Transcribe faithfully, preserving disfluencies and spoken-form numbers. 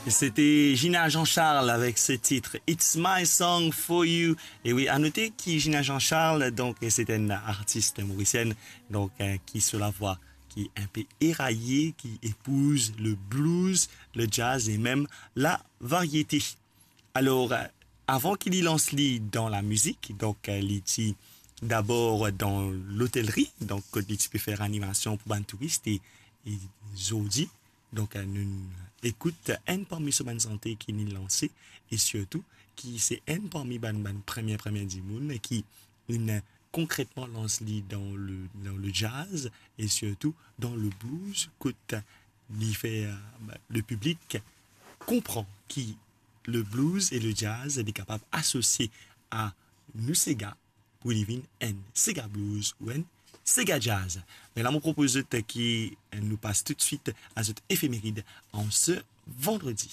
C'était Gina Jean-Charles avec ce titre It's My Song for You. E wi, a note ki Gina Jean-Charles, donk, se enn artis morisienn, donk, euh, ki so lavwa ki enpe eraye, ki epouz le blues, le jazz e mem la variete. Alor, euh, avan ki li lans li dan la mizik, donk, euh, li ti dabor dan lotelri, donk, kot li ti pe fer animasion pou bann touris, e, e zordi, donk, euh, nou ekout enn parmi so bann sante ki li lanse, e sirtou ki se enn parmi bann, bann premie, premie dimoun ki li konkretman lans li dan le, dan le jazz, e sirtou dan le blues, kot li fer, euh, le piblik konpran ki le blues e le jazz, li kapav asosie a nou sega, pou li vinn enn sega blues ou enn sega jazz. Me la, mo propoz zot ki nou pas toutswit a zot efemerid an se vandredi.